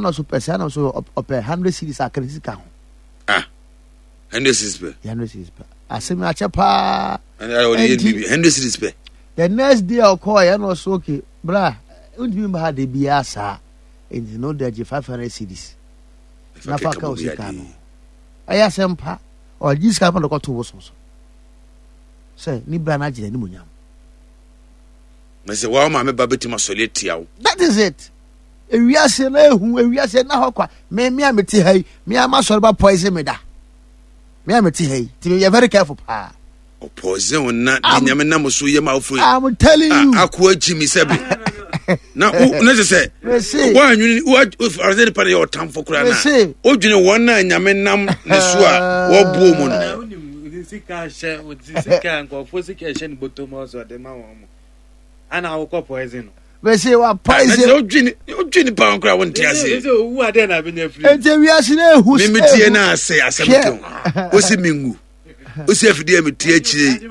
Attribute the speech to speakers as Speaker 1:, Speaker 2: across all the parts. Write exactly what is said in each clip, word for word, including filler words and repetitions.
Speaker 1: Ɛna ɔso pɛ sɛ, ɛna ɔso ɔpɛ hundred cedis aka ne sika ho.
Speaker 2: Ah, hundred cedis pɛ.
Speaker 1: Hundred cedis pɛ. Asɛm akyɛ paa.
Speaker 2: Ɛnti hundred cedis pɛ.
Speaker 1: The next day ɔkɔɔ yɛ, ɛna ɔso, okay bra, ntumi ba ha de biara saa, nti no de agye five hundred cedis na fa ka o sika no. Ɛyɛ asɛm pa. Ɔgye sika pa na ɔkɔto bosom so sɛ ne bra no agye n'anim onyam.
Speaker 2: Na sɛ wɔn maame ba bɛtumi asɔre atia wo.
Speaker 1: That is it. Ewiase na ehu, ewiase na hɔ kwa. Me me a mete ha yi, me a ma sɔre ba poison me da. Me a mete ha yi, ti me yɛ very careful paa.
Speaker 2: Ɔpoison wo na de Nyame nam so yɛ ma awofo yi.
Speaker 1: I'm telling you.
Speaker 2: Akoa akyi mi sɛbe. Na wo na kyerɛ sɛ woanwene wo nipa no yɛ ɔtamfo koraa na wodwene wɔn a Nyame nam ne so a wɔboɔ mu no.
Speaker 3: Sika hyɛ sika nkurɔfoɔ sika hyɛ ne bɔtɔ mu ɔsɛ ɔde ma wɔn mo ana awokɔ poison no.
Speaker 1: Mese wa poison.
Speaker 2: Na wodwene wodwene nipa ho koraa wonte ase.
Speaker 3: Ɛsɛ owu adeɛ na abɛnya firi.
Speaker 1: Nti wiase na ehu.
Speaker 2: Mimi tie na ase asɛm kɛn wosi mi ngu wosi afidie a metie akyire yi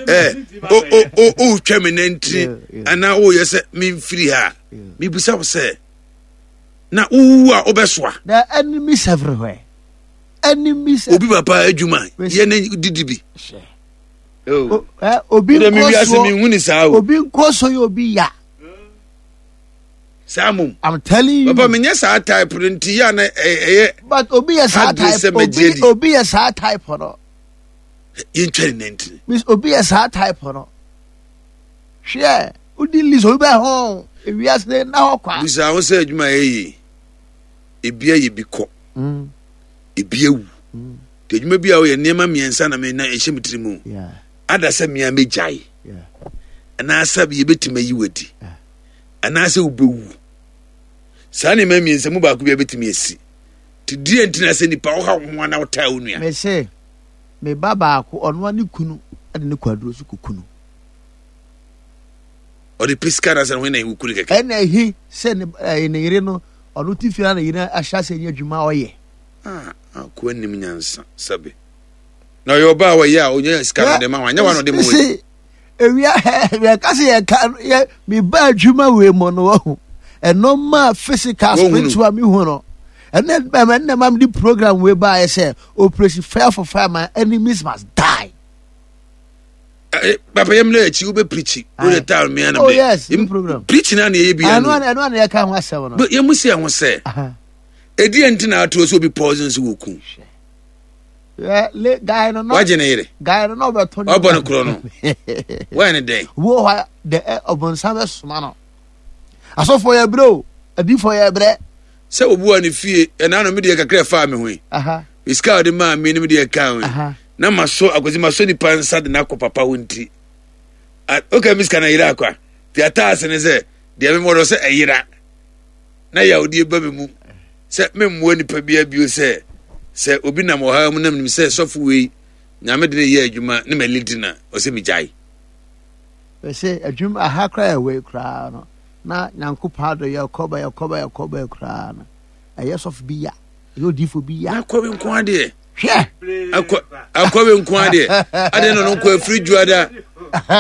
Speaker 2: ɛ o o o wotwa me nantiri anaa woyɛ sɛ memfiri ha, mebisa wo sɛ na wowu a wobɛsoa.
Speaker 1: There are enemies everywhere. Enemies.
Speaker 2: Obi papa adwuma yɛ ne didi bi.
Speaker 1: Obi
Speaker 2: nkɔ so,
Speaker 1: obi nkɔ so yɛ obi ya.
Speaker 2: Saa mom.
Speaker 1: I'm telling you.
Speaker 2: Papa, menyɛ saa type no nti yɛ na ɛyɛ.
Speaker 1: But obi yɛ saa type, obi obi yɛ saa type no.
Speaker 2: Yɛntwa ne nantiri.
Speaker 1: Miss, obi yɛ saa type no. Hwɛ, odi list obi bɛ ho ewiase ne na hɔ kwa.
Speaker 2: Bisa ho sɛ adwuma yɛ yie, ebi ayɛ bi kɔ,
Speaker 1: mm.
Speaker 2: ebi awu.
Speaker 1: Mm.
Speaker 2: Nti adwuma bi a woyɛ, nneɛma mmiɛnsa na me na ɛhyɛ me tiri mu. Ada sɛ mmea mɛgyae anaasɛ yɛbɛtumi ayi wadi anaasɛ wobɛwu. Saa nneɛma mmiɛnsa mu baako bi a bɛtumi asi. Nti deɛ nti na sɛ nipa woha wo ho ana wotaa wo nua.
Speaker 1: Mese me ba baako, ɔnoa ne kunu de ne kwaduro so kukunu.
Speaker 2: Ɔde pɛ sika na sɛ ne ho na ɛwu kunu kɛkɛ.
Speaker 1: Ɛna ɛhi sɛ ne ɛɛ ne yere no, ɔno ti fie na ne yere ahyɛ ase nyɛ adwuma ɔyɛ.
Speaker 2: Ah, akoa nim nyansa sɛbe. Na ɔyɛ ɔbaa a ɔyɛ a ɔnyɛ sika no de ma wɔn anyɛ wɔn na ɔde ma wɔn.
Speaker 1: Ewia yɛka sɛ yɛka yɛ meba adwuma wei mu no, wahu ɛno ma physical, spiritual mi hu no. Ɛnɛ ɛnɛ ma mi di program wei ba ayɛ sɛ Operation Fire for Fire, my enemies must die.
Speaker 2: Papa, yɛm na akyi wobɛ preach wo de taa mmea na
Speaker 1: Oh yes, no program.
Speaker 2: Preach na na yɛ bi.
Speaker 1: Ɛno ɛno na yɛka ho asɛm no.
Speaker 2: Yɛmu si ɛho sɛ ɛdi ɛnti na ato sɛ obi poison sɛ wɔku
Speaker 1: guy no.
Speaker 2: Wagye ne yere.
Speaker 1: Guy no na ɔbɛtɔ
Speaker 2: ne ɔbɔ no korɔ no wɔyɛ ne dɛn.
Speaker 1: Wo hɔ de ɔbɔnsam bɛsoma no. Asɔfoɔ yɛ brɛ o, adiifoɔ yɛ brɛ.
Speaker 2: Sɛ obi wɔ ne fie ɛna no medeɛ kakra ɛfaa me ho yi, sika a ɔde maa me no medeɛ ɛka ho yi na masɔ akwasi masɔ nipa nsa de n'akɔ papa ho nti oka mi sika na yera akwa nti ataase ne sɛ deɛ memɔ dɔ sɛ ɛyera na yawdeɛ ba me mu sɛ memmoa nipa bia bio sɛ sɛ obi nam ɔhaw mu nam nim sɛ sɔfo wei Nyame de ne yɛ adwuma ne ma lidi na ɔsɛ megyae.
Speaker 1: Sɛ adwuma aha koraa ɛwɔ koraa no na Nyankopɔn adɔ yɛkɔba yɛkɔba yɛkɔba koraa no, ɛyɛ sɔfo bi ya, ɛyɛ odifo bi ya.
Speaker 2: Na akɔwe nko adeɛ.
Speaker 1: Hwɛ,
Speaker 2: akɔ akɔwe nko adeɛ adeɛ na ɔno nko efiri juada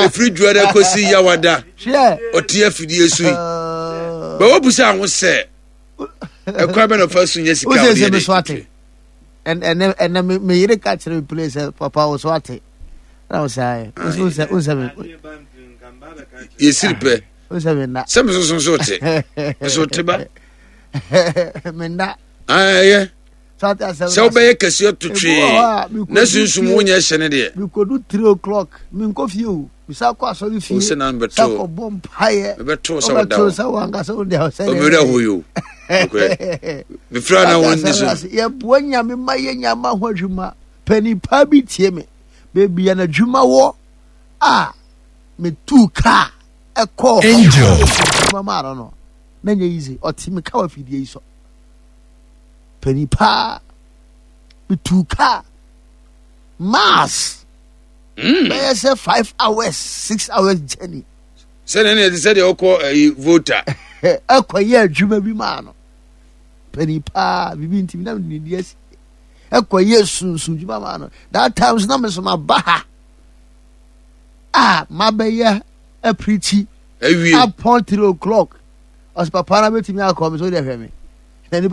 Speaker 2: efiri juada kɔsi yawada.
Speaker 1: Hwɛ,
Speaker 2: ɔte afidie so yi bɛwɔ busa ho sɛ ɛkwan bɛ na ɔfa so nyɛ sika.
Speaker 1: Wosɛ sɛ me so ate. Ɛnɛ ɛnɛ me yere ka kyerɛ me play sɛ papa wo so ate na wo saa yɛ wosɛ wosɛ me.
Speaker 2: Yɛsiri pɛ
Speaker 1: wosɛ me nna.
Speaker 2: Sɛ me soso so te me so te ba.
Speaker 1: Me nna.
Speaker 2: Ɛyɛ sɛ wobɛyɛ kɛseɛ to twee na sunsum wonyɛ hyɛ ne deɛ.
Speaker 1: Mekodu three o'clock menkɔ fie o, bisa kɔ asɔre fie.
Speaker 2: Sɛ na
Speaker 1: mebɛto sɛ kɔbɔ mpaeɛ.
Speaker 2: Mebɛto sɛ woda
Speaker 1: hɔ sɛ wankasa wo deɛ sɛ
Speaker 2: ɔmewura hɔ yo mefira na wɔnni so.
Speaker 1: Yɛboa Nyame ma yɛ nyama ho adwuma. Panipa bi tie me baabi a n'adwuma wɔ a metuu kaa ɛkɔɔ
Speaker 4: Angel
Speaker 1: adwuma maa no no na nyɛ easy. Ɔte me ka wɔ afidie yi so. Panipa, metuu kaa mass
Speaker 2: mm.
Speaker 1: bɛyɛ sɛ five hours, six hours journey.
Speaker 2: Sɛdeɛ ne ɛte sɛdeɛ ɔkɔ ayi Volta.
Speaker 1: Ɛkɔyɛ adwuma bi maa no. Panipa biribi ntimi na mede ne asi ɛkɔyɛ sunsun dwuma maa no. That time so na me so maba ha a mabɛyɛ apirikyi.
Speaker 2: Awie
Speaker 1: upon three o'clock ɔsɛ papa na bɛtumi akɔ me so deɛ hwɛ me na nipa.